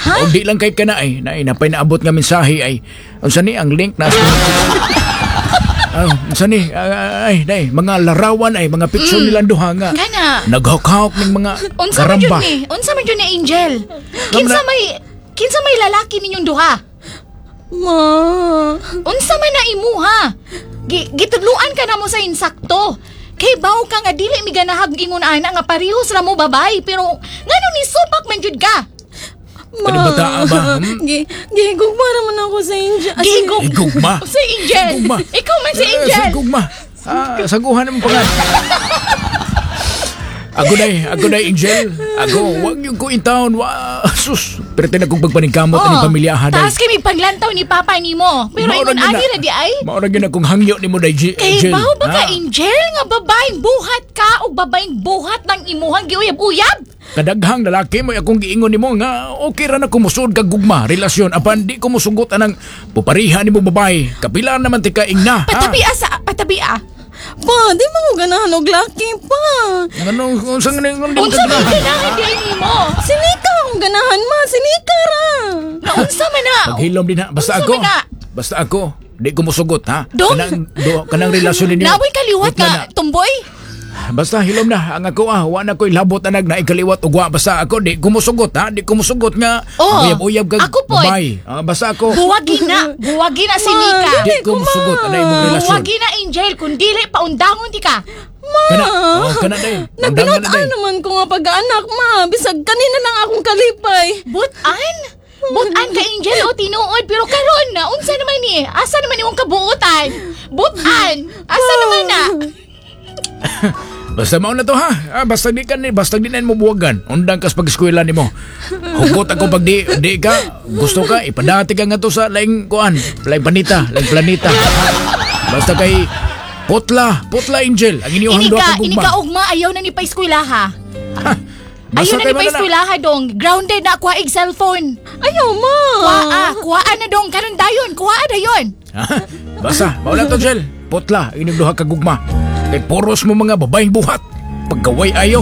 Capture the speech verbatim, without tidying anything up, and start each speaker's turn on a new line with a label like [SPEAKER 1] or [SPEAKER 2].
[SPEAKER 1] Ha?
[SPEAKER 2] O di lang kay kana ay, na napay naabot nga mensahe ay. Unsa ni ang link na? Oh, unsa ni? Ay, ay, mga larawan ay, mga picture nilang duha nga.
[SPEAKER 1] Kana.
[SPEAKER 2] Naghawk-hawk ning mga
[SPEAKER 1] Unsa man jud
[SPEAKER 2] karamba.
[SPEAKER 1] ni? Unsa man jud ni, Angel? Kinsa may kinsa may lalaki ninyong duha?
[SPEAKER 3] Ma.
[SPEAKER 1] Unsa man na imuha? Gi gitudluan ka na mo sa insakto. Kay baw ka nga dili mi ganahag ingon ana nga parehos ra mo babay, pero ngano ni supak man jud ka?
[SPEAKER 3] Ma.
[SPEAKER 2] Kani bata ba? Hmm?
[SPEAKER 3] Gi gihigugma naman ako sa Angel. Ah, si-
[SPEAKER 1] Gihigug-
[SPEAKER 2] Higugma.
[SPEAKER 1] Si Angel.
[SPEAKER 2] Higugma.
[SPEAKER 1] Ikaw man si
[SPEAKER 2] Eh,
[SPEAKER 1] Angel.
[SPEAKER 2] Sa gugma. Ah, saguhan mo pangan. Ako day, ako day, Angel. Ako, wag yung ko in town. Wa, sus. Pero tinag kong pagpaningkamot oh, ni pamilya ha, day.
[SPEAKER 1] Taas kay may paglantaw ni papa nimo. Pero
[SPEAKER 2] Mao ra
[SPEAKER 1] ingon
[SPEAKER 2] gyud
[SPEAKER 1] ani
[SPEAKER 2] na-
[SPEAKER 1] ra di ay.
[SPEAKER 2] Mao ra gyud na kung hangyo nimo day, G-
[SPEAKER 1] Kay
[SPEAKER 2] Angel.
[SPEAKER 1] baw ba ka,
[SPEAKER 2] Ah,
[SPEAKER 1] Angel, nga babaeng buhat ka o babaeng buhat ng imuhang giuyab-uyab?
[SPEAKER 2] Kadaghang lalaki mo akong giingon nimo nga okay ra na kumusod kag gugma relasyon apan di ko musugot anang pupariha nimo babae. Kapila naman ti ka ingna. Ha?
[SPEAKER 1] Patabi ah, sa patabi ah.
[SPEAKER 3] Pa, di man ko ganahan og laki pa.
[SPEAKER 2] Ano unsa nga ning di mo
[SPEAKER 1] Unsa man
[SPEAKER 2] kaganahan?
[SPEAKER 1] ganahan di ay nimo?
[SPEAKER 3] Si Nika akong ganahan, ma, si Nika ra.
[SPEAKER 1] Na unsa man na?
[SPEAKER 2] Paghilom din ha. Basta
[SPEAKER 1] Unsa
[SPEAKER 2] ako.
[SPEAKER 1] man na?
[SPEAKER 2] Basta ako. Di ko musugot ha.
[SPEAKER 1] Dong?
[SPEAKER 2] Kanang, do, kanang relasyon ninyo.
[SPEAKER 1] Naboy kaliwat
[SPEAKER 2] Putla
[SPEAKER 1] nga
[SPEAKER 2] na.
[SPEAKER 1] tumboy.
[SPEAKER 2] Basta hilom na ang ako ah. Wa na ko'y labot anag na ikaliwat ugwa. Basta ako di ko musugot ha. Di ko musugot nga.
[SPEAKER 1] Oh,
[SPEAKER 2] Uyab-uyab kag
[SPEAKER 1] ako po'y.
[SPEAKER 2] babae. Ah, basta ako.
[SPEAKER 1] Buwagi na, buwagi na si
[SPEAKER 3] Ma,
[SPEAKER 1] Nika.
[SPEAKER 2] Di ko musugot anay imong relasyon.
[SPEAKER 1] Buwagi na, Angel, kung dili paundangon ti ka.
[SPEAKER 3] Ma.
[SPEAKER 2] Kana, oh, kana day. Undangan na
[SPEAKER 3] Nagbinutan
[SPEAKER 2] day.
[SPEAKER 3] naman ko nga pag-anak, ma. Bisag kanina lang akong kalipay.
[SPEAKER 1] Butan? Butan ka, Angel, o tinuod pero karon na unsa naman ni? Asa naman imong kabuotan? Butan. Asa naman na?
[SPEAKER 2] Basta mao na to ha. Ah, basta di ka ni basta di na mo buwagan. Undang kas pag-eskwela nimo. Hugot ako pag di di ka gusto ka ipadati ka nga to sa laing kuan, laing planeta, laing planeta. Basta kay putla, putla, Angel, ang inyong
[SPEAKER 1] Ini
[SPEAKER 2] duha
[SPEAKER 1] ka,
[SPEAKER 2] ka
[SPEAKER 1] ini
[SPEAKER 2] gugma.
[SPEAKER 1] ka ugma ayaw na ni pa-eskwelaha.
[SPEAKER 2] Ha, Basta
[SPEAKER 1] Ayaw na
[SPEAKER 2] kay
[SPEAKER 1] ni
[SPEAKER 2] mana na.
[SPEAKER 1] pa-eskwelaha dong. Grounded na kuha ig cellphone.
[SPEAKER 3] Ayaw, ma.
[SPEAKER 1] Kuha, kuha na dong karon dayon, kuha dayon.
[SPEAKER 2] Ha? Basta, mao na to, Angel. Putla, inyong duha ka gugma. Kay puros mo mga babaeng buhat. Paggaway ayo.